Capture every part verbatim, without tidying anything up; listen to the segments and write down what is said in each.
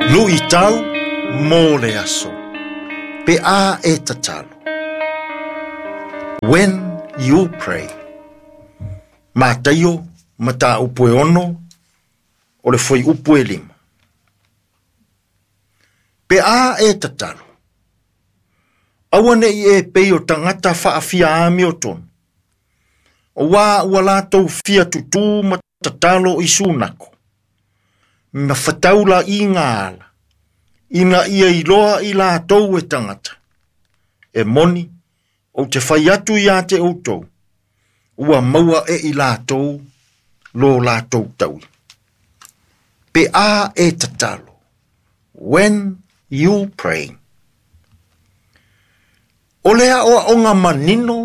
Luʻitau mo le aso. Pe a e tatalo. When you pray. Mataio mataupu e ono o le fuaiupu e lima. Pe a e tatalo. Aua neʻi e pei o tagata faafia amiotonu. Auā ua latou fia tutū ma tatalo i sunako. Ma fetaulaʻiga ala. Ina ia iloa i latou e tagata. E moni, ou te fai atu ia te outou. Ua maua e i latou, lo latou taui. Pe a e tatalo. When you pray. O le aʻoaʻoga manino,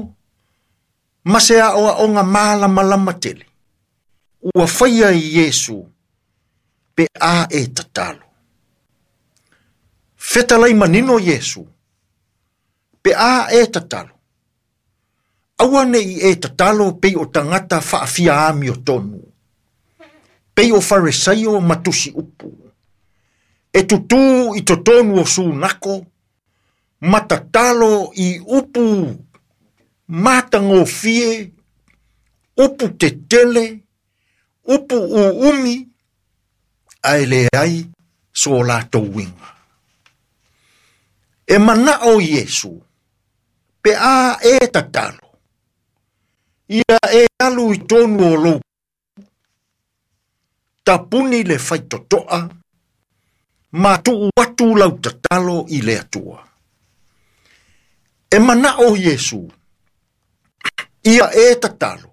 ma se aʻoaʻoga malamalama tele. Ua faia e Iesu, pe a e tatalo. Fetalai manino Iesu, pe a e tatalo. Aua neʻi e tatalo pei o tagata faafia amiotonu. Pei o Faresaio ma tusi upu. E tutū i totonu o sunako, ma tatalo i upu matagofie, upu tetele, upu uumi, ae leai so latou uiga. E manaʻo Iesu, pe a e tatalo. Ia e alu i tonu o lou. Tapuni le faitotoa, ma tuu atu lau tatalo i le Atua. E manaʻo Iesu, ia e tatalo.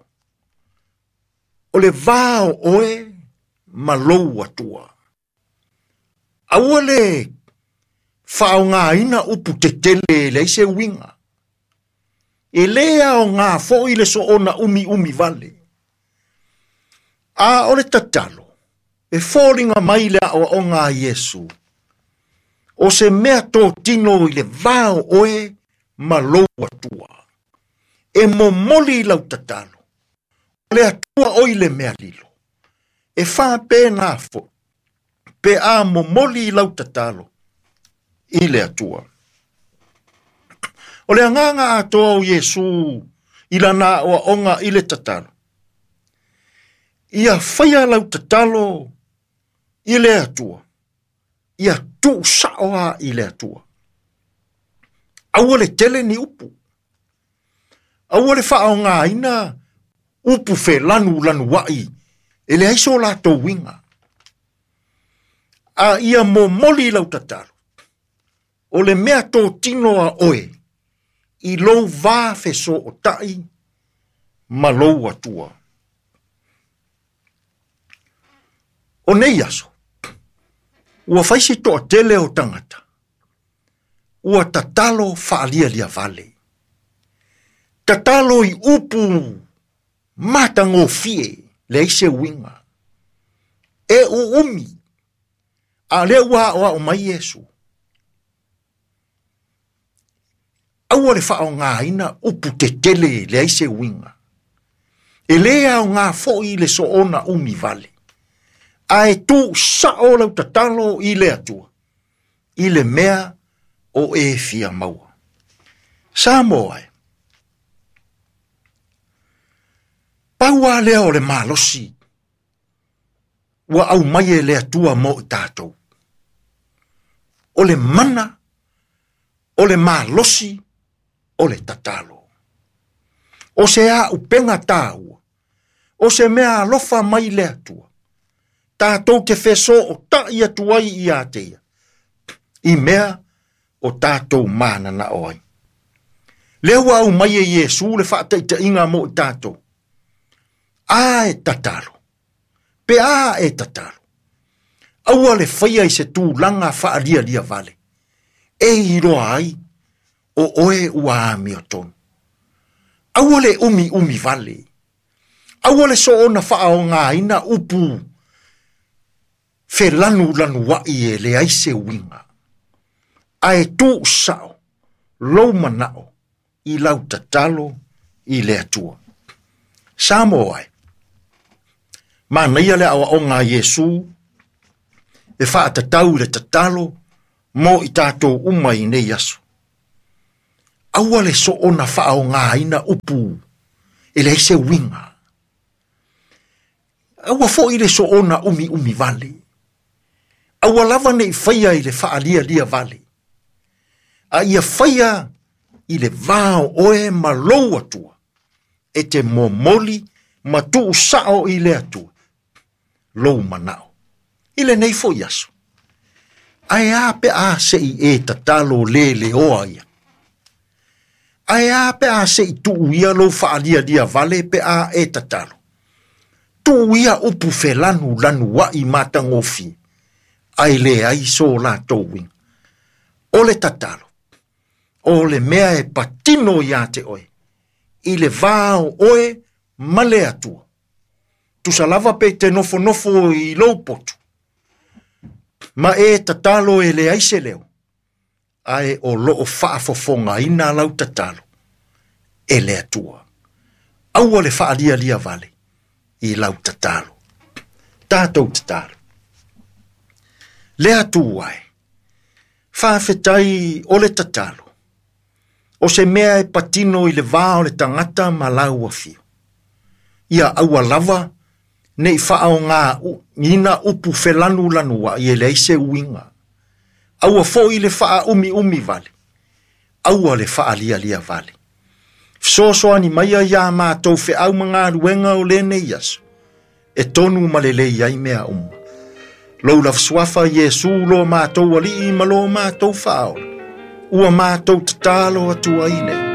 O le va o oe ma lou Atua. Aua le faaaogaina upu tetele e leai se uiga. E lē aogā foʻi le soona umiumi vale. A o le tatalo, e foliga mai le aʻoaʻoga a Iesu. O se mea totino i le va o oe ma lou Atua. E momoli i lau tatalo. O le Atua oi le mea lilo. E faapena foʻi. Pe a momoli i lau tatalo i le Atua. O le agaga atoa o Iesu i lana aʻoaʻoga i le tatalo. Ia faia lau tatalo i le Atua. Ia tuusaʻo a i le Atua. Aua le tele ni upu. Aua le faaaogaina upu felanulanuaʻi e leai so latou uiga. A ia momoli lau tatalo. O le mea totino a oe i lou va fesootaʻi ma lou Atua. O nei aso, ua faisi toʻatele o tagata. Ua tatalo faalialia vale. Tatalo i upu matagofie leai se uiga. E uumi, a lea ua aʻoaʻo mai Iesu. Aua le faaaogaina upu tetele leai se uiga. E lē aogā foʻi le soona umi vale. Ae tuusaʻo lau tatalo i le Atua. I le mea o e fia maua. Samoa e. Pau a lea o le malosi. Ua aumai e le Atua mo i tatou. O le mana, o le malosi, o le tatalo. O se auupega taua. O se mea alofa mai le Atua. Tatou te fesootaʻi atu ai ia te ia. I mea o tatou mananaʻo ai. Lea ua aumai e Iesu le faataʻitaʻiga mo i tatou. A e tatalo. Pe a e tatalo. Aua le faia i se tulaga faalialia vale. E iloa ai o oe ua amiotonu. Aua le umiumi vale. Aua le soona faaaogaina upu felanulanuaʻi e leai se uiga. Ae tuusaʻo lou manaʻo i lau tatalo i le Atua. Samoa e. Manaia le aʻoaʻoga a Iesu E faatatau i le tatalo mo i tatou uma i nei aso. Aua le soona faaaogāina upu e leai se uiga. Aua foi le soona umiumi vale. Aua lava nei faia i le faalialia vale. A ia faia i le va o oe ma lou Atua, e te momoli ma tuu sao i le Atua, lou manao. I lenei foi aso. Ae a pe a se i e tatalo le leoa ia. Ae a pe a se i tuu ia lou faalialia vale pe a e tatalo. Tuu ia upu felanu lanu ai matagofie, ae leai so latou uiga. O le tatalo, o le mea e patino ia te oe, i le va o oe ma le Atua. Tusa lava pe te nofonofo i lou potu, ma e tatalo e leai se leo, ae o loo faafofogaina lau tatalo e le Atua. Aua le faalialia vale i lau tatalo. Tatou tatalo. Le Atua e, faafetai o le tatalo, o se mea e patino i le va o le tagata ma lau afio. Ia aua lava nei faaaogāina upu felanulanuai e leai se uiga. Aua foi le faaumiumi vale, aua le faalialia vale. Fesoasoani maia iā matou feau ma galuega o lenei aso, e tonu ma lelei ai mea uma. Lou lava suafa Iesu lo matou alii ma lo matou faaola, ua matou tatalo atu ai nei.